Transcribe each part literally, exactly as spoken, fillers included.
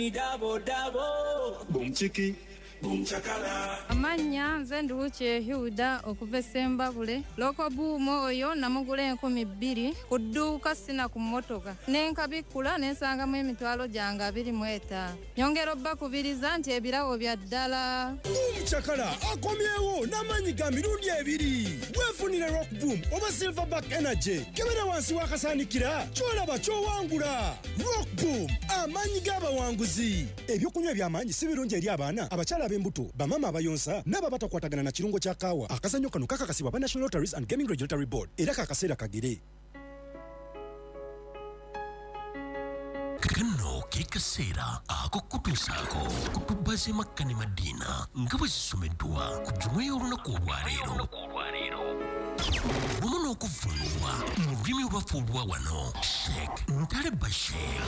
Double, double. Boom chiki, boom chakala. Amanya nze Nduwuki Hilda okuva e Ssembabule. Rock Boom oyo namugula enkumi bbiri ku dduuka sina ku mmotoka. Ne nkabikkula ne nsangamu emitwalo gyange abiri mu etaano. Nyongera obbakubiriza nti ebirabo bya ddala. Boom Chakala akomyewo n'amaanyi ga mirundi ebiri. Weefunire Rock Boom oba Silverback Energy. Kebera wansi w'akasaanikira ky'olaba ky'owangula. Rock Boom, amaanyi g'abawanguzi. Ebyokunywa eby'amaanyi si birungi eri abaana, abakyala ab'embuto, bamaama abayonsa n'abo abatakwatagana na kirungo kya kaawa. Akazannyo kano kakakasibwa aba National Lotteries and Gaming Regulatory Board era kakaseera kagere. Kano ke kaseera ak'okutuusaako ku tubba z'e Makka ne Madiina nga bwe zisomeddwa ku jjuma y'olunaku olwaleero wamu n'okuvvuunulwa mu lulimi olwaffe olwa wano Sheikh Ntale Bashir.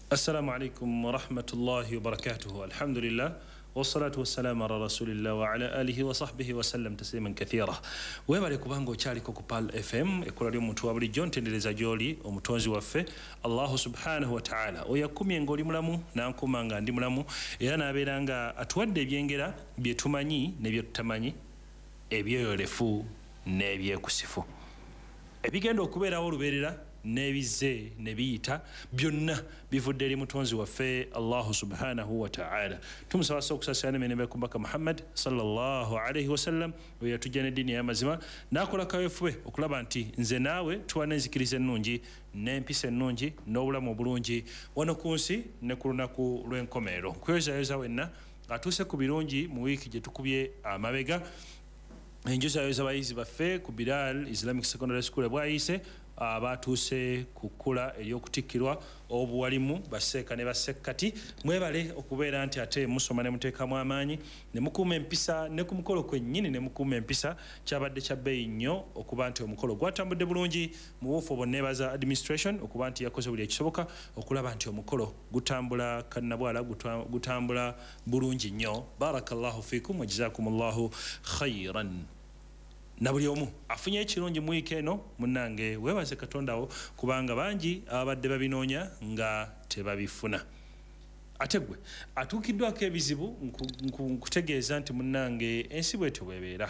Assalamu alaikum wa rahmatullahi wa barakatuhu. Alhamdulillah wassalatu wassalamu ala rasulillah wa ala alihi wa sahbihi wa sallam tasliman kathira. Webale kubanga okyaliko ku Pearl F M ekkola ly'omuntu wa bulijjo, ntendereza gy'oli omutonzi waffe Allahu subhanahu wa ta'ala, oyo akkumye ng'oli mulamu n'ankuuma nga ndi mulamu, era n'abeera nga atuwadde ebyengera bye tumanyi ne bye tutamanyi, ebyeyolefu n'ebyekusifu, ebigenda okubeerawo olubeerera n'ebizze ne biyita, byonna bivudde eri mutonzi waffe Allahu subhanahu wa ta'ala. Tumusaba sso okusaasira n'emirembe ku Mbaka Muhammad sallallahu alaihi wasallam, oyo yatujja n'eddiini ey'amazima n'akola kaweefube okulaba nti nze naawe tuba n'enzikiriza ennungi n'empisa ennungi n'obulamu obulungi wano ku nsi ne ku lunaku lw'enkomerero. Nkweyozayoza wenna atuuse ku birungi mu wiiki gye tukubye amabega. Enjozayoza abayizi baffe ku Bilal Islamic Secondary School bwayise abatuuse ku kkula ery'okutikkirwa obuwalimu basseeka ne bassekkati. Mwebale okubeera nti ate musoma ne muteekamu amaanyi ne mukuuma empisa ne ku mukolo kwennyini ne mukuuma empisa. Kyabadde kya bbeeyi nnyo okuba nti omukolo gwatambudde bulungi. Mu buufu obwo neebaza administration okuba nti yakoze buli ekisoboka okulaba nti omukolo gutambula kannabwala, gutambula bulungi nnyo. Barakallahu fiikum wa jazakumullahu khairan. Na buli omu afunye ekirungi mu wiiki eno, munnange weebaze Katonda wo kubanga bangi ababadde babinoonya nga tebabifuna. Ate gwe atuukiddwako ebizibu, nkutegeeza nti munnange ensi bwetyo bw'ebeera.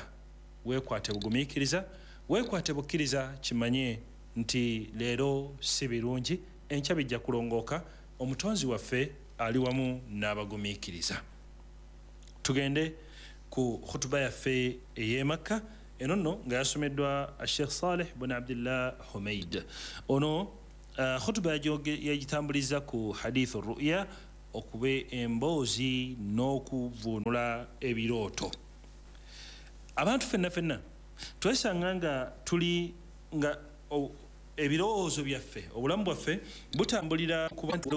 Weekwate bugumiikiriza, weekwate bukkiriza, kimanye nti leero si birungi, enkya bijja kulongooka. Omutonzi waffe ali wamu n'abagumiikiriza. Tugende ku khutuba yaffe ey'e Makka eno nno nga yasomeddwa Sheikh Saleh bin Abdullah Humaid. Ono khutuba yagitambuliza ku hadithu ru'ya, okuba emboozi n'okuvvuunula ebirooto. Abantu ffenna ffenna twesanga nga tuli nga ebirowoozo byaffe, obulamu bwaffe butambulira ku bantu